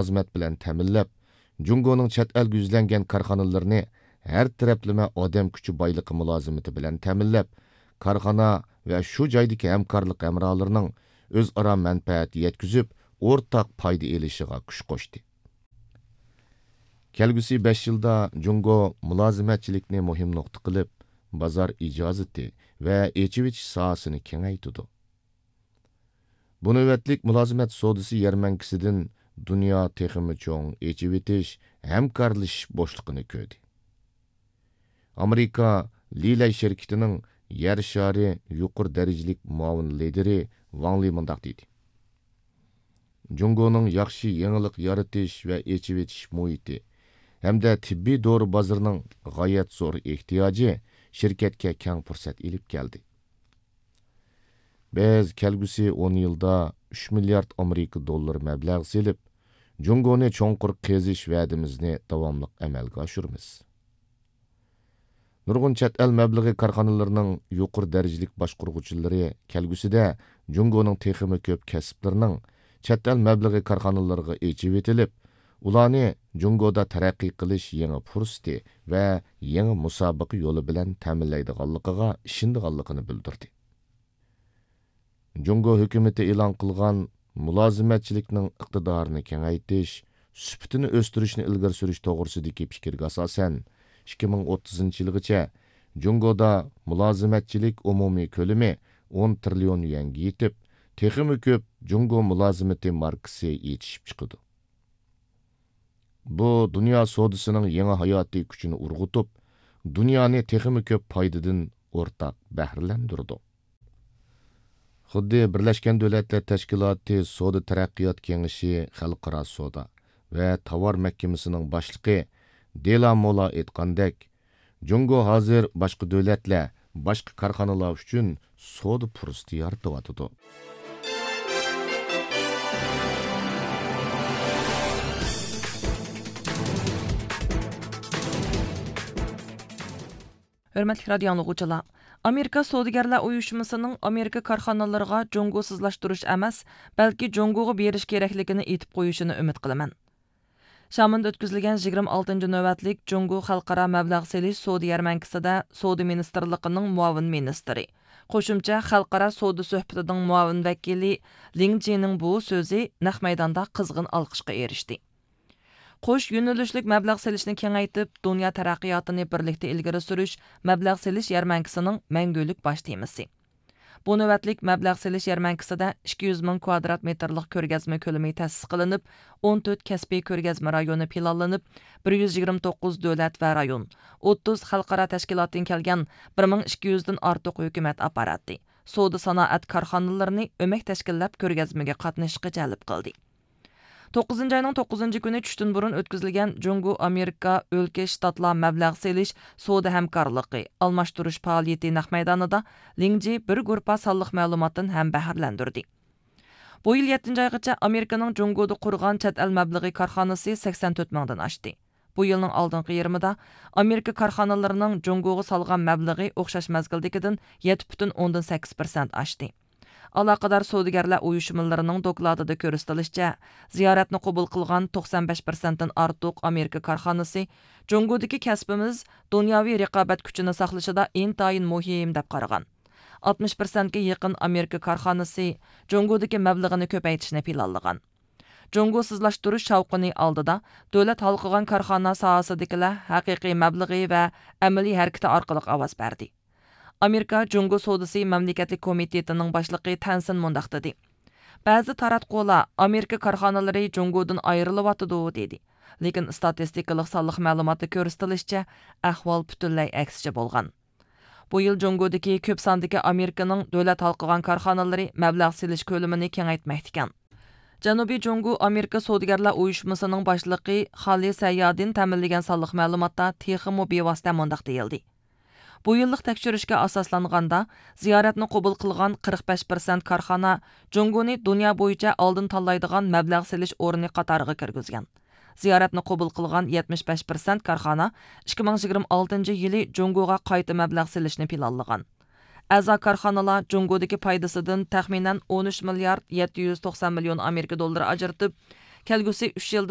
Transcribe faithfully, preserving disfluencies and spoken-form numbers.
مۇلازىمەت بىلەن تەمىنلەپ، جۇڭگونىڭ چەت ئەلگە يۈزلەنگەن كارخانىلىرىنى ھەر تەرەپلىمە ئادەم كۈچى بايلىقى مۇلازىمىتى بىلەن تەمىنلەپ، كارخانا ۋە شۇ جايدىكى ھەمكارلىق ھەمراھلىرىنىڭ ئۆزئارا مەنپەئەت يەتكۈزۈپ، ئورتاق پايدا ئېلىشىغا كۈچ قوشتى. كەلگۈسى بەش يىلدا جۇڭگو مۇلازىمەتچىلىكنى مۇھىم نۇقتا قىلىپ، بازار ئىجازىتى ۋە ئېچىۋېتىش ساھەسىنى كېڭەيتىدۇ. بۇ نۆۋەتلىك مۇلازىمەت سودىسى يەرمەنكىسىدىن دۇنيا تېخىمۇ چوڭ ئېچىۋېتىش، ھەمكارلىشىش بوشلۇقىنى كۆردى. ئامېرىكا لىلەي شىركىتىنىڭ يەر شارى يۇقىرى دەرىجىلىك مۇئاۋىن لىدىرى ۋاڭ لى مۇنداق دېدى: جۇڭگونىڭ ياخشى يېڭىلىق يارىتىش ۋە ئېچىۋېتىش مۇھىتى ھەمدە تېببىي دورا بازىرىنىڭ غايەت زور ئېھتىياجى شىركەتكە كەڭ پۇرسەت ئېلىپ كەلدى. بىز كەلگۈسى ئون يىلدا ئۈچ مىليارد ئامېرىكا دوللىرى مەبلەغ سېلىپ، جۇڭگونى چوڭقۇر قېزىش ۋەدىمىزنى داۋاملىق ئەمەلگە ئاشۇرىمىز. نۇرغۇن چەت ئەل مەبلىغى كارخانىلىرىنىڭ يۇقىرى دەرىجىلىك باشقۇرغۇچىلىرى كەلگۈسىدە جۇڭگونىڭ تېخىمۇ كۆپ كەسىپلىرىنىڭ چەت ئەل مەبلىغى كارخانىلىرىغا ئېچىۋېتىلىپ، ئۇلارنى جۇڭگودا تەرەققىي قىلىش يېڭى پۇرسىتى ۋە يېڭى مۇسابىقە يولى بىلەن تەمىنلەيدىغانلىقىغا ئىشىنىدىغانلىقىنى بىلدۈردى. جۇڭگو ھۆكۈمىتى ئېلان قىلغان مۇلازىمەتچىلىكنىڭ ئىقتىدارىنى كېڭەيتىش، سۈپىتىنى ئۆستۈرۈشنى ئىلگىرى سۈرۈش توغرىسىدىكى پىكىرگە ئاساسەن، ئىككى مىڭ ئوتتۇزىنچى يىلغىچە جۇڭگودا مۇلازىمەتچىلىك ئومۇمىي كۆلىمى ئون تىرىليون يۈەنگە يېتىپ، تېخىمۇ كۆپ جۇڭگو مۇلازىمىتى ماركىسى يېتىشىپ چىقىدۇ. بۇ دۇنيا سودىسىنىڭ يېڭى ھاياتىي كۈچىنى ئۇرغۇتۇپ، دۇنيانى تېخىمۇ كۆپ پايدىدىن ئورتاق بەھرىلەندۈرىدۇ. خۇددى بىرلەشكەن دۆلەتلەر تەشكىلاتى سودا تەرەققىيات كېڭىشى خەلقئارا سودا ۋە تاۋار مەھكىمىسىنىڭ باشلىقى دېلا مولا ئېيتقاندەك، جۇڭگو ھازىر باشقا دۆلەتلەر، باشقا كارخانىلار ئۈچۈن سودا پۇرسىتى يارىتىۋاتىدۇ. ھۆرمەتلىك رادىيو ئاڭلىغۇچىلار، ئامېرىكا سودىگەرلەر ئۇيۇشمىسىنىڭ ئامېرىكا كارخانىلىرىغا جۇڭگوسىزلاشتۇرۇش ئەمەس، بەلكى جۇڭگوغا بېرىش كېرەكلىكىنى ئېيتىپ قويۇشىنى ئۈمىد قىلىمەن. شامېندا ئۆتكۈزۈلگەن يىگىرمە ئالتىنچى نۆۋەتلىك جۇڭگو خەلقئارا مەبلەغ سېلىش سودا يەرمەنكىسىدە سودا مىنىستىرلىقىنىڭ مۇئاۋىن مىنىستىرى، قوشۇمچە خەلقئارا سودا سۆھبىتىنىڭ مۇئاۋىن ۋەكىلى لىڭ جىنىڭ بۇ سۆزى نەق مەيداندا قىزغىن ئالقىشقا ئېرىشتى. قوش يۆنىلىشلىك مەبلەغ سېلىشنى كېڭەيتىپ، دۇنيا تەرەققىياتىنى بىرلىكتە ئىلگىرى سۈرۈش مەبلەغ سېلىش يەرمەنكىسىنىڭ مەڭگۈلۈك باش تېمىسى. بۇ نۆۋەتلىك مەبلەغ سېلىش يەرمەنكىسىدە ئىككى يۈز مىڭ كۋادرات مېتىرلىق كۆرگەزمە كۆلىمى تەسىس قىلىنىپ، ئون تۆت كەسپىي كۆرگەزمە رايونى پىلانلىنىپ، بىر يۈز يىگىرمە توققۇز دۆلەت ۋە رايون، ئوتتۇز خەلقئارا تەشكىلاتتىن كەلگەن بىر مىڭ ئىككى يۈزدىن ئارتۇق ھۆكۈمەت ئاپپاراتى، سودا سانائەت كارخانىلىرىنى ئۆمەك تەشكىللەپ كۆرگەزمىگە قاتنىشىشقا جەلپ قىلدى. توققۇزىنچى ئاينىڭ توققۇزىنچى كۈنى چۈشتىن بۇرۇن ئۆتكۈزۈلگەن جۇڭگو ئامېرىكا ئۆلكە شتاتلار مەبلەغ سېلىش سودا ھەمكارلىقى ئالماشتۇرۇش پائالىيىتى نەق مەيدانىدا لىڭ جى بىر گۇرۇپپا سانلىق مەلۇماتتىن ھەم بەھرىلەندۈردى. بۇ يىل يەتتىنچى ئايغىچە ئامېرىكىنىڭ جۇڭگودا قۇرغان چەت ئەل مەبلىغى كارخانىسى سەكسەن تۆت مىڭدىن ئاشتى. بۇ يىلنىڭ ئالدىنقى يېرىمىدا ئامېرىكا كارخانىلىرىنىڭ جۇڭگوغا سالغان مەبلىغى ئوخشاش مەزگىلدىكىدىن يەتتە پۈتۈن ئوندىن سەككىز پىرسەنت ئاشتى. ئالاقىدار سودىگەرلەر ئۇيۇشمىلىرىنىڭ دوكلاتىدا كۆرسىتىلىشىچە، زىيارەتنى قوبۇل قىلغان توقسان بەش پىرسەنتتىن ئارتۇق ئامېرىكا كارخانىسى جۇڭگودىكى كەسپىمىز دۇنياۋى رىقابەت كۈچىنى ساقلىشىدا ئىنتايىن مۇھىم دەپ قارىغان. ئاتمىش پىرسەنتكە يېقىن ئامېرىكا كارخانىسى جۇڭگودىكى مەبلىغىنى كۆپەيتىشنى پىلانلىغان. جۇڭگوسىزلاشتۇرۇش شاۋقۇنى ئالدىدا، دۆلەت ھالقىغان كارخانا ساھەسىدىكىلەر ھەقىقىي مەبلىغى ۋە ئەمەلىي ھەرىكىتى ئارقىلىق ئاۋاز بەردى. ئامېرىكا جۇڭگو سودىسى مەملىكەتلىك كومىتېتىنىڭ باشلىقى تەنسىن مۇنداق دېدى: بەزى تاراتقۇلار ئامېرىكا كارخانىلىرى جۇڭگودىن ئايرىلىۋاتىدۇ، دېدى. لېكىن ئىستاتىستىكىلىق سانلىق مەلۇماتتا كۆرسىتىلىشىچە، ئەھۋال پۈتۈنلەي ئەكسىچە بولغان. بۇ يىل جۇڭگودىكى كۆپ ساندىكى ئامېرىكىنىڭ دۆلەت ھالقىغان كارخانىلىرى مەبلەغ سېلىش كۆلىمىنى كېڭەيتمەكتىكەن. جەنۇبىي جۇڭگو ئامېرىكا سودىگەرلەر ئۇيۇشمىسىنىڭ باشلىقى خالى سەييادىن تەمىنلىگەن سانلىق مەلۇماتتا تېخىمۇ بىۋاسىتە مۇنداق دېيىلدى: بۇ يىللىق تەكشۈرۈشكە ئاساسلانغاندا، زىيارەتنى قوبۇل قىلغان قىرىق بەش پىرسەنت كارخانا جۇڭگونى دۇنيا بويىچە ئالدىن تاللايدىغان مەبلەغ سېلىش ئورنى قاتارىغا كىرگۈزگەن. زىيارەتنى قوبۇل قىلغان يەتمىش بەش پىرسەنت كارخانا ئىككى مىڭ يىگىرمە ئالتىنچى يىلى جۇڭگوغا قايتا مەبلەغ سېلىشنى پىلانلىغان. ئەزا كارخانىلار جۇڭگودىكى پايدىسىدىن تەخمىنەن ئون ئۈچ مىليارد يەتتە يۈز توقسان مىليون ئامېرىكا دوللىرى ئاجرىتىپ، كەلگۈسى ئۈچ يىلدىن